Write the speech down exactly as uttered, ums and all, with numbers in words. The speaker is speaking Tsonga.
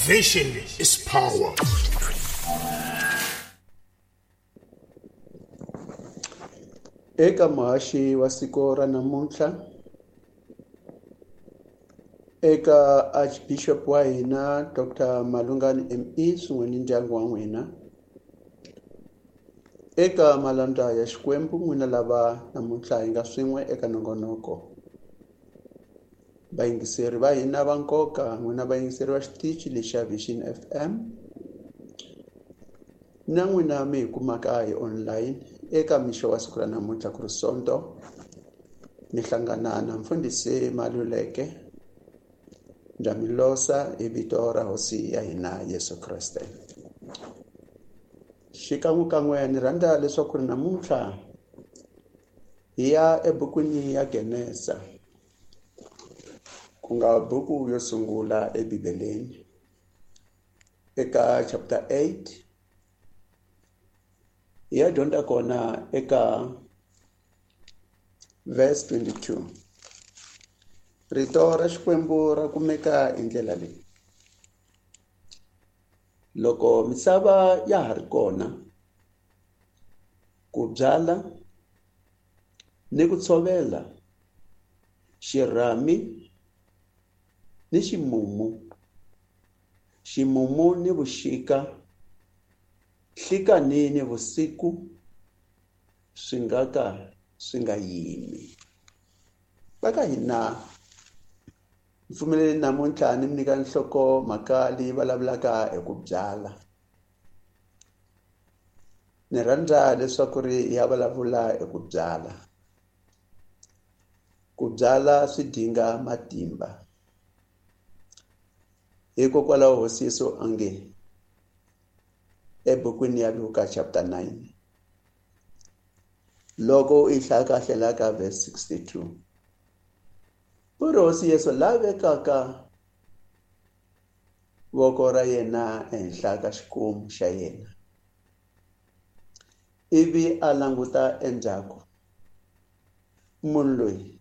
Vision is power. Eka muhaxi wa siku ra namuntlha, eka Archbishop wa hina Doctor Malungani M E swin'we ni ndyangu wa n'wina, eka malandza ya Xikwembu n'wina lava namuntlha hi nga swin'we eka nongonoko, vayingiseri va hina va nkoka n'wina vayingiseri va xitichi lexa Vision F M na n'wina mi hi kumaka hi online eka mixo wa siku ra namuntlha ku ri Sonto, mi hlangana na mfundhisi Maluleke Ndamilosa hi vito ra Hosi ya hina Yesu Kreste. Xikan'wekan'we ni rhandza leswaku ri namuntlha hi ya ebukwini ya Genesa, ku nga buku yo sungula eBibeleni, eka chapter eight hi ya dyondza kona eka verse twenty-two. Rito ra Xikwembu ra kumeka hi ndlela leyi: loko misava ya ha ri kona, ku byala ni ku tshovela, xirhami ni ximumu, ximumu ni vuxika, nhlikani ni vusiku, swi nga ka swi nga yimi. Va ka hina mpfumeleli namuntlha ni mi nyika nhloko mhaka leyi vulavulaka hi ku byala. Ni rhandza leswaku ri ya vulavula hi ku byala. Ku byala swi dinga matimba. Hikokwalaho Hosi Yesu a nge ebukwini ya Luka chapter nine, loko u yi hlaya kahle la ka verse sixty-two, u ri Hosi Yesu la vekaka voko ra yena ehenhla ka xikomu xa yena, ivi a languta endzhaku, munhu loyi